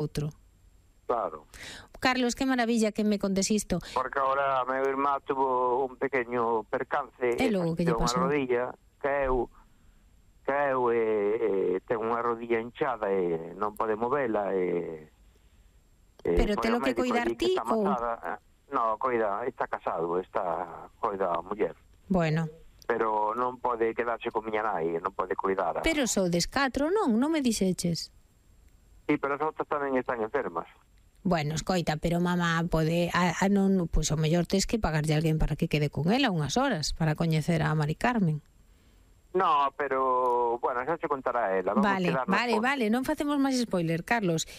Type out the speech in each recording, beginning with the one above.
outro. Claro. Carlos, qué maravilla que me contes isto. Porque ahora meu irmán tuvo un pequeño percance E logo que lle pasou? unha rodilla, caeu ten unha rodilla hinchada e non pode movela Pero te lo que coidar ti ou? No, coida, está casado, coida a muller. Bueno. Pero non pode quedarse con miña nai, non pode coidar. Pero sodes 4, non me dixeches. Sí, pero as outras tamén están enfermas. Bueno, escoita, pero mamá pode non, pois o mellor tes que pagarlle a alguén para que quede con ela unhas horas para coñecer a Mari Carmen. No, pero, bueno, xa se contará ela. Vale, non facemos máis spoiler, Carlos.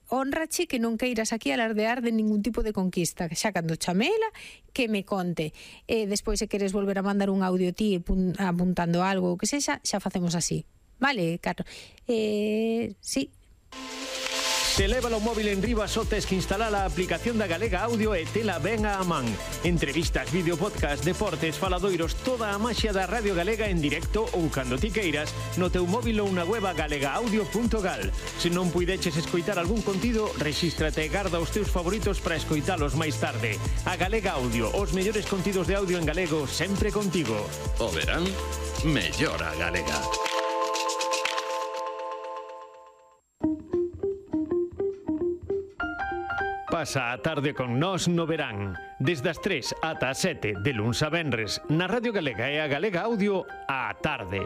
Honrache que non queiras aquí alardear de ningún tipo de conquista, xa cando chamela, que me conte. Despois, se queres volver a mandar un audio ti apuntando algo, que sexa, xa facemos así. Vale, Carlos? Sí. Se leva o móvil en riba só tes que instalar a aplicación da Galega Audio e tela ben a man. Entrevistas, vídeo, podcast, deportes, faladoiros, toda a maxia da Radio Galega en directo ou cando ti queiras no teu móvil ou na web galegaaudio.gal. Se non puideches escoitar algún contido, rexístrate e garda os teus favoritos para escoitalos máis tarde. A Galega Audio, os mellores contidos de audio en galego sempre contigo. O verán, mellora a Galega. Pasa a tarde con nós no verán. Desde as 3 ata as 7 de luns a venres na Radio Galega e a Galega Audio á tarde.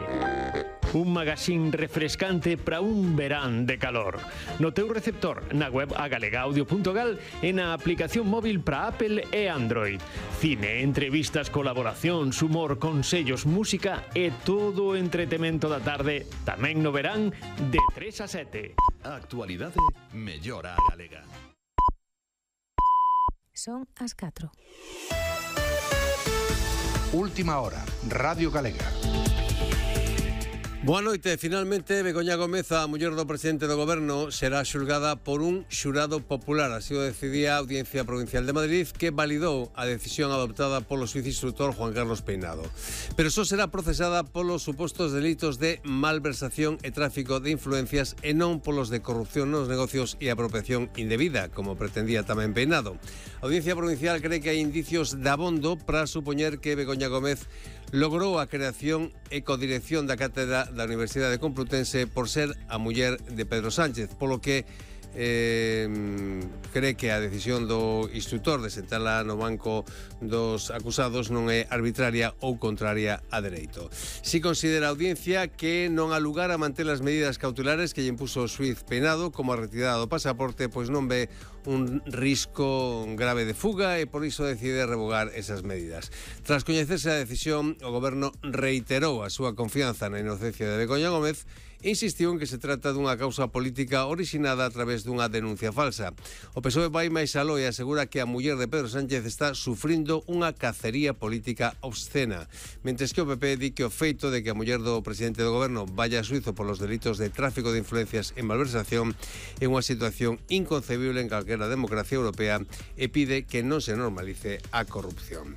Un magazín refrescante para un verán de calor. No teu receptor, na web agalegaaudio.gal e na aplicación móvil para Apple e Android. Cine, entrevistas, colaboracións, humor, consellos, música e todo o entretemento da tarde tamén no verán de 3 a 7. A actualidade mellora a Galega. Son as 4. Última hora, Radio Galega. Boa noite. Finalmente, Begoña Gómez, a muller do presidente do goberno, será xulgada por un xurado popular. Así o decidía a Audiencia Provincial de Madrid, que validou a decisión adoptada polo xuiz instructor Juan Carlos Peinado. Pero só será procesada polos supostos delitos de malversación e tráfico de influencias e non polos de corrupción nos negocios e apropiación indebida, como pretendía tamén Peinado. A Audiencia Provincial cree que hai indicios de abondo para supoñer que Begoña Gómez logrou a creación e codirección da cátedra da Universidade Complutense por ser a muller de Pedro Sánchez, polo que cree que a decisión do instructor de sentala no banco dos acusados non é arbitraria ou contraria a dereito. Si considera a audiencia que non há lugar a manter as medidas cautelares que lle impuso o xuiz Peinado, como a retirada do pasaporte, pois non ve un risco grave de fuga e por iso decide revogar esas medidas. Tras coñecerse a decisión, o goberno reiterou a súa confianza na inocencia de Begoña Gómez e insistiu en que se trata dunha causa política orixinada a través dunha denuncia falsa. O PSOE vai máis aló e asegura que a muller de Pedro Sánchez está sufrindo unha cacería política obscena, mentres que o PP di que o feito de que a muller do presidente do goberno vaya a xuizo polos delitos de tráfico de influencias e malversación é unha situación inconcebible en calquera democracia europea e pide que non se normalice a corrupción.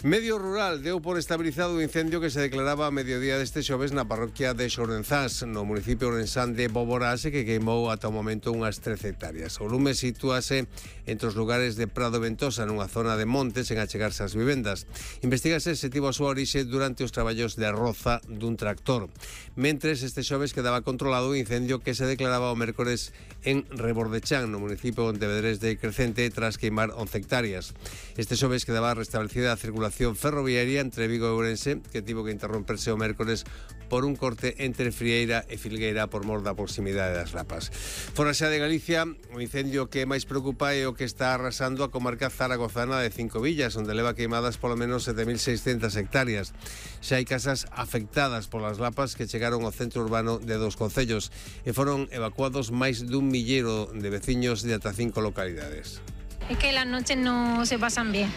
Medio Rural deu por estabilizado o incendio que se declaraba a mediodía deste xoves na parroquia de Xorenzás, no municipio ourensán de Boborás, que queimou ata o momento unhas 13 hectáreas. O lume sitúase entre os lugares de Prado e Ventosa, nunha zona de montes en achegarse ás vivendas. Investígase se tivo a súa orixe durante os traballos de roza dun tractor. Mentres, este xoves quedaba controlado o incendio que se declaraba o mércores en Rebordechán, no municipio de Vedrés de Crecente, tras queimar 11 hectáreas. Este xoves quedaba restablecida a circulación ferroviaria entre Vigo e Ourense, que tivo que interromperse o mércores por un corte entre Frieira e Filgueira por mor da proximidade das lapas. Fora xa de Galicia, o incendio que máis preocupa é o que está arrasando a comarca zaragozana de Cinco Villas, onde leva queimadas polo menos 7.600 hectáreas. Xa hai casas afectadas polas lapas que chegaron ao centro urbano de dos concellos e foron evacuados máis dun millero de veciños de ata 5 localidades. Es que las noches no se pasan bien.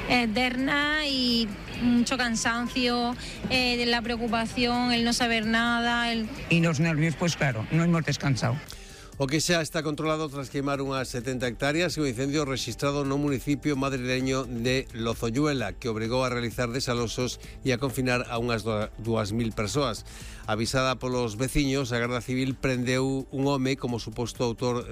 Eterna y mucho cansancio, la preocupación, el no saber nada. Y los nervios, pues claro, no hemos descansado. O que xa está controlado tras queimar unhas 70 hectáreas e o incendio rexistrado no municipio madrileño de Lozoyuela, que obrigou a realizar desalosos e a confinar a unhas 2.000 persoas. Avisada polos veciños, a Garda Civil prendeu un home como suposto autor